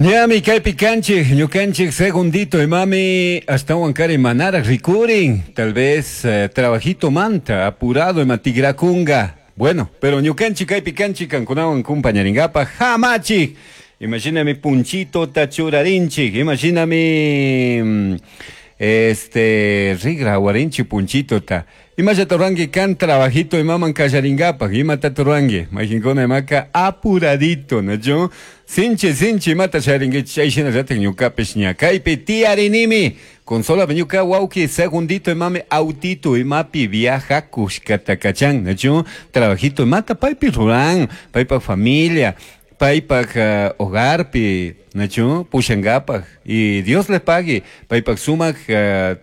Ñami kaypi kanchik, ñukanchik segundito imami ashtawan kari manaraj rikurin, tal vez trabajito manta apurado ima tigrakunga. Bueno, pero ñukanchik kaypi kanchik kankunawan kumpañaringapaj hamachik. Imashinami punchitota churarinchik, imashinami este rigra awarinchik punchitota. Imallata ruranki kan trabajito imaman kallaringapaj, imatata ruranki? Mayqinkuna imaka apuradito, nachu? Sinchi, sinchi imata sharinkichik, chay shinallatak ñukapish ña kaypi tiyarinimi. Consolame ñuka wawki segundito imami autito imapi viajakushkata kachan, nachu? Trabajito imata paypi ruran, paypak familia, paypak hogarpi, nachu? Pushankapaj. Y Dios le pague, paypak sumak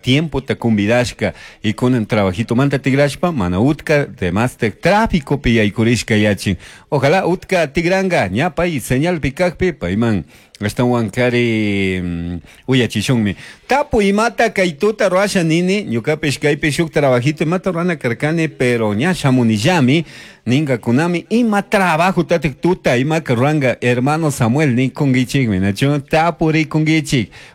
tiempota convidashka y kunan trabajitomanta tigrashpa mana utka demastek tráficopi yaykurishka yachin. Ojalá utka tigranka ña pay señalpi kakpi payman ashtawan kari uyachishunmi. Tapu imata kay tuta ruwasha nini, ñukapish kaypi shuk trabajito imata ruwana karkani, pero ña shamunillami, ninkakunami ima trabajo tatik tuta imaka ruwanka hermano Samuel nikunkichikmi, nachu? Tapurikunkichik.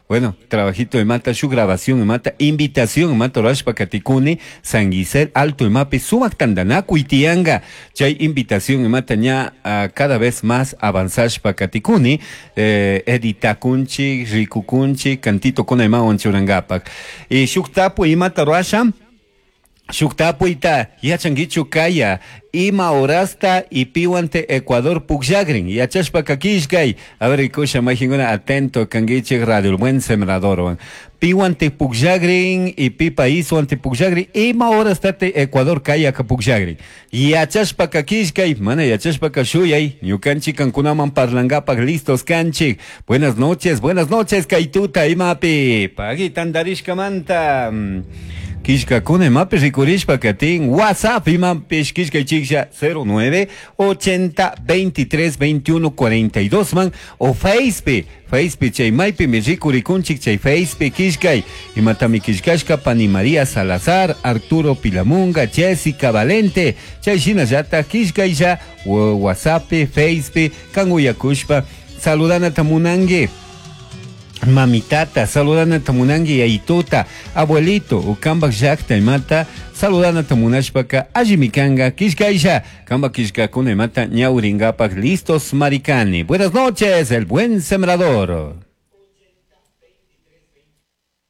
Bueno, trabajito imata shuk grabación imata invitación imata ruwashpa katikuni San Gisel Alto imapi sumak tantanakuy tiyanka. Chay invitación imata ña cada vez más avanzashpa katikuni, editakunchik, rikukunchik, cantitokuna imawan churankapak. Y shuk tapuy imata ruwasha, shuk tapuyta yachankichu kaya ima horasta y piwante Ecuador pukllakrin yachashpaka killkay. A ver, rikusha mayqinkuna atento kankichik Radio El Buen Sembradorwan. Piwante pukllakrin y pi paiswante pukllakrin ima horasta te Ecuador kayaka pukllakrin. Yachashpaka killkay, mana yachashpaka shuyay, ñukanchik kankunaman parlankapak listos kanchik. Buenas noches, buenas noches kay tuta imapi. Pagui tantarishkamanta. Killkakuna imapi rikurishpa katin WhatsApp imapish killkaychiklla cero nueve ochenta veintitrés veintiuno cuarenta y dos man o Facebook, Facebook chay maypimi rikurikunchik chay Facebook killkay imatami killkashka pani María Salazar, Arturo Pilamunga, Jessica Valente, chay shinallata killkaylla WhatsApp, Facebook kan uyakushpa saludanata munanki. Mamitata, saludanata munanki yayituta, abuelito, ukambak llakta imata, saludanata munashpaka allimi kanka killkaylla, kambak killkakuna imata ñawrinkapak listos maricani. Buenas noches, el buen sembrador.